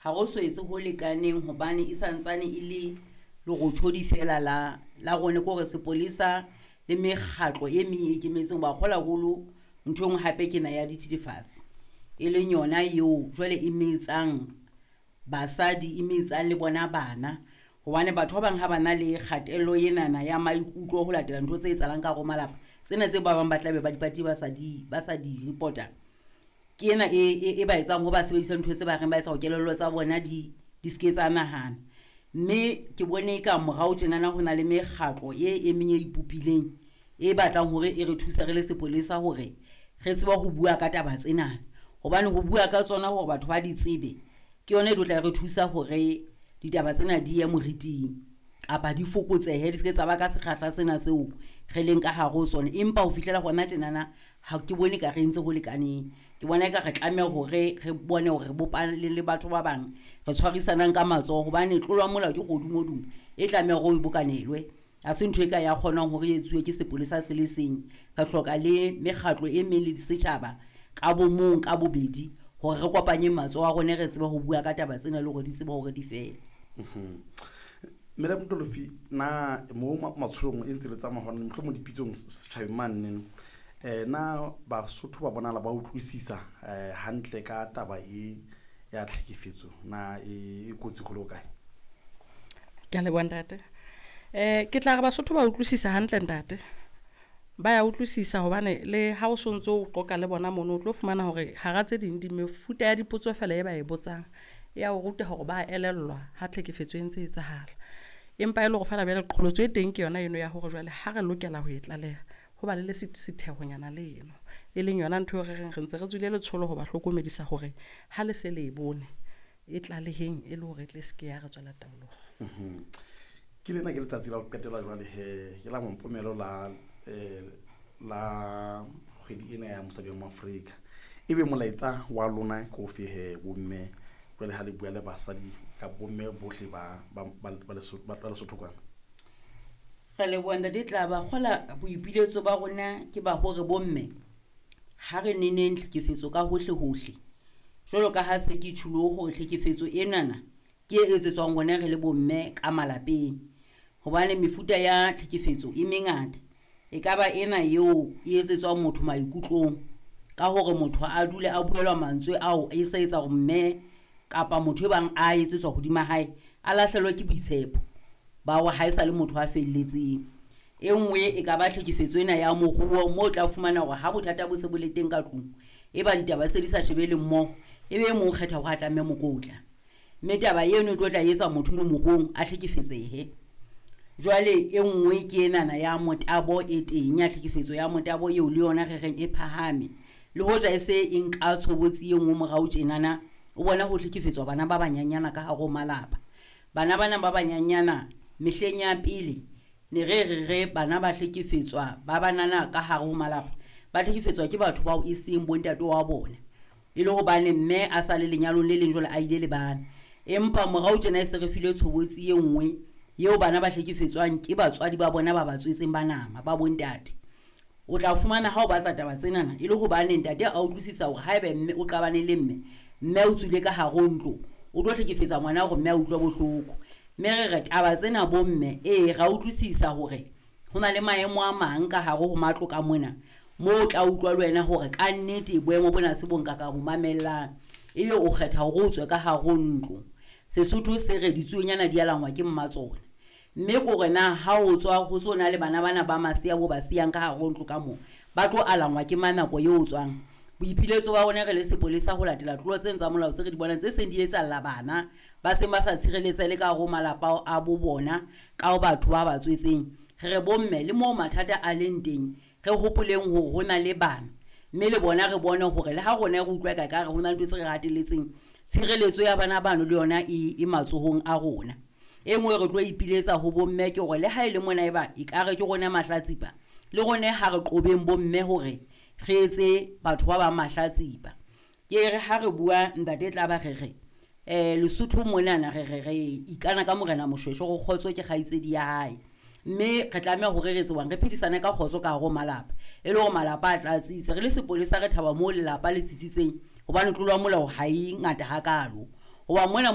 Ha ro so etse ho lekaneng hobane e santsane e le lerothodi fela la rona, ke hore sepolesa le mekgatlo e meng e ikemetseng ba kgola haholo. Ntho e nngwe hape ke na ya dithethefatsi, e leng yona eo jwale e metsang basadi, e metsang le bona bana, hobane batho ba bang ha ba na le kgatello enana ya maikutlo ho latela ntho tse etsahalang ka hare ho malapa, tsena tse ba bang ba tlabe ba di patile, ba sa di report-a, ke ena e ba etsang hore ba sebedise ntho tse ba reng ba etsa hore kelello tsa bona di seke tsa nahana. Mme ke bone ka morao tjenana ho na le mekgatlo e meng e ipopileng e batlang hore e re thuse re le sepolesa hore re tsebe ho bua ka taba tsenana, hobane ho bua ka tsona hore batho ba di tsebe ke yona e tlo tla re thusa hore ditaba tsena di ye moriting kapa di fokotsehe, di seke tsa ba ka sekgahla sena seo re leng ka hare ho sona. Empa ho fihlela hona tjenana ha ke bone ka re entse ho lekaneng. Ke bona eka re tlameha hore re bone hore re bopane le batho ba bang, re tshwarisanang ka matsoho, hobane tlolo ya molao ke kgodumodumo e tlameha hore o bokanelwe. Ha se ntho e ka ya kgonang hore e etsuwe ke sepolesa se le seng. Re hloka le mekgatlo e meng le setjhaba ka bo mong ka bobedi hore re kopanye matsoho a rona, re tsebe ho bua ka taba tsena le hore di tsebe hore di fele. Madam Tolofi, na mo matsholong e ntse le tsamaya hona mohlomong dipitsong setjhabeng mane, na Basotho ba bonahala ba utlwisisa hantle ka taba e ya tlhekefetso, na e kotsi ho le hokae? Ke a leboha, ntate. Ke tla re Basotho ba utlwisisa hantle, ntate. Ba ya utlwisisa hobane le ha o sontso o qoqa le bona mono, o tlo fumana hore hara tse ding di mefuta ya dipotso fela e ba e botsang e ya o ruta hore ba elellwa ha tlhekefetso e ntse e etsahala. Empa e le hore fela jwale qholotso e teng ke yona eno ya hore jwale ha re lokela ho e tlaleha, ho ba le le sethehonyana le eno, e leng yona ntho eo re reng re ntse re tswile letsholo ho ba hlokomedisa hore ha le se le e bone, e tlaleheng e le hore e tle se ke ya re tswela taolong. Ke lena ke letsatsi la ho qetela jwale he, ke la mompomelo la kgwedi ena ya mosadi wa Moafrika. Ebe molaetsa wa lona ke ofe he, bomme, jwale ha le bua le basadi ka bomme bohle ba Lesotho kwana? Re leboha, ntate Tlaba. Kgola boipiletso ba rona ke ba hore bomme ha re neneng tlhekefetso ka hohle hohle, jwalo ka ha se ke tjhulo hore tlhekefetso enana ke e etsetswang rona re le bomme ka malapeng, hobane mefuta ya tlhekefetso e mengata. E ka ba ena eo e etsetswang motho maikutlong ka hore motho a dule a buelwa mantswe ao, e sa etsa hore mme kapa motho e bang a etsetswa hodima hae a lahlehelwe ke boitshepo ba hore ha e sa le motho a felletseng. E nngwe e ka ba tlhekefetso ena ya moruo, moo o tla fumana hore ha bothata bo se bo le teng ka tlung, e ba ditaba se di sa shebele mmoho, e be e mong o kgetha hore a tlamehe mokotla, mme taba eno e tlo tla etsa motho eno moruong a hlekefetsehe. Jwale e nngwe ke enana ya motabo e teng, ya tlhekefetso ya motabo, eo le yona re reng e phahame, le hoja e se e nka tshobotsi e nngwe morao tjenana. O bona ho hlekefetswa bana ba banyanyana ka hare ho malapa. Bana bana ba banyanyana, mehleng ya pele ne re bana ba hlekefetswa ba banana ka hare ho malapa, ba hlekefetswa ke batho bao e seng bontate wa bona, e le hobane mme a sa le lenyalong le leng, jwale a ile le bana. Empa morao tjena e se re file tshobotsi e nngwe eo bana ba hlekefetswang ke batswadi ba bona ba ba tswetseng ba nama, ba bontate. O tla fumana ha o batla taba tsenana e le hobane ntate a utlwisisa hore haebe mme o qabane le mme, mme o tswile ka hare ho ntlo, o tlo hlekefetsa ngwana hore mme a utlwe bohloko. Mme re taba tsena bomme, ee, ra utlwisisa hore ho na le maemo a mang ka hare ho matlo ka mona moo o tla utlwa le wena hore ka nnete boemo bona se bo nka ka bo mamellang, ebe o kgetha hore o tswe ka hare ho ntlo. Sesotho se re ditsuonyana di alangwa ke mmatsona. Mme kore na ha o tswa ho so na le bana bana ba masea bo ba siyang ka hare ho ntlo ka moo, ba tlo alangwa ke mang nako eo o tswang? Boipiletso ba rona re le sepolesa ho latela tlolo tsena tsa molao tse re di bonang tse seng di etsahalla bana ba seng ba sa tshireletseha le ka hare ho malapa a bo bona ka batho ba ba tswetseng, re re bomme le moo mathata a leng teng, re hopoleng hore ho na le bana, mme le bona re bone hore le ha rona re utlwa ka re ho na le ntho tse re hatelletseng, tshireletso ya bana bano le yona e matsohong a rona. E nngwe re tlo ipiletsa ho bomme ke hore le ha e le mona eba ekare ke rona mahlatsipa, le rona ha re qobeng bomme hore re etse batho ba bang mahlatsipa. Ke re ha re bua, ntate tla ba re re Lesotho monana re ikana ka Morena Moshweshwe hore kgotso ke kgaitsedi ya hae, mme re tlameha hore re tsebang re phedisane ka kgotso ka hare ho malapa, e le hore malapa a tla tsitsa. Re le sepolesa re thaba moo lelapa le tsitsitseng, hobane tlolo ya molao ha e ngata hakalo hoba mona.